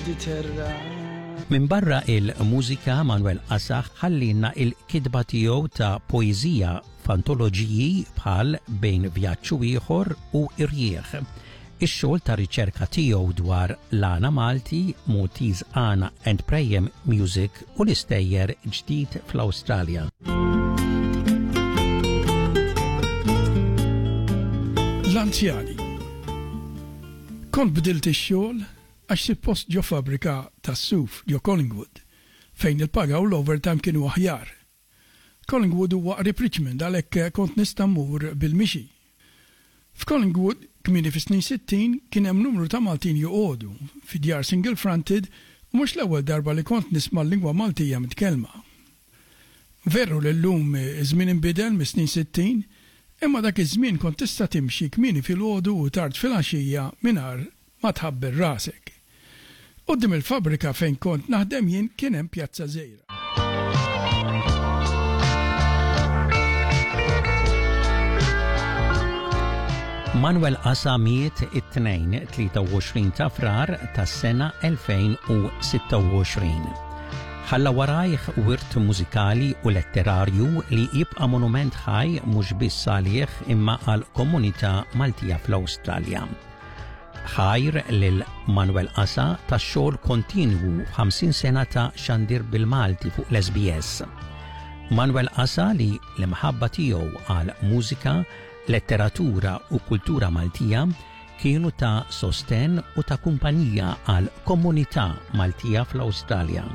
Mediterran. Minbarra il-mużika Manuel Qasaħ ħallinna il-kitba tiegħu ta' poeżija f'antoloġiji bħal Bejn Vjaġġ u Ieħor u Irjieħ. Ix-xogħol ta' riċerka tiegħu dwar l-għana Malti, Maltese Għana and Prayer Music u l-istejjer Ġdid fl-Awstralja. L-anzjani. Kont bdilt ix-xogħol għax sibt post ġo fabbrika tas-suf ġo Collingwood fejn il-paga u l-overtime kienu aħjar. Collingwood huwa qrib Richmond għalhekk kont nista' mmur bil-mixi. F'Collingwood, kmieni fis-snin 60, kien hemm numru ta' Maltin joqogħdu, fi djar single fronted u mhux l-ewwel darba li kont nisma' l-lingwa Maltija mitkellma. Veru li llum iż-żmien inbidel mis-snin 60, imma dak iż-żmien kont tista' timxi kmieni filgħodu u tard filgħaxija mingħajr ma tħabbel rasek. Quddiem il-fabbrika fejn kont naħdem jien kien hemm pjazza żgħira. Manuel Asa miet it-Tnejn 23 ta' Frar tas-sena 2026. Ħalla warajh wirt mużikali u letterarju li jibqa' monument ħaj mhux biss għalih imma għal komunità Maltija fl-Awstralja. Ħajr lil Manuel Asa tax-xogħol kontinwu 50 sena ta' xandir bil-Malti fuq l-SBS. Manuel Asa li l-imħabba tiegħu għal mużika, letteratura u kultura Maltija kienu ta' sosten u ta' kumpanija għal komunità Maltija fl-Awstralja.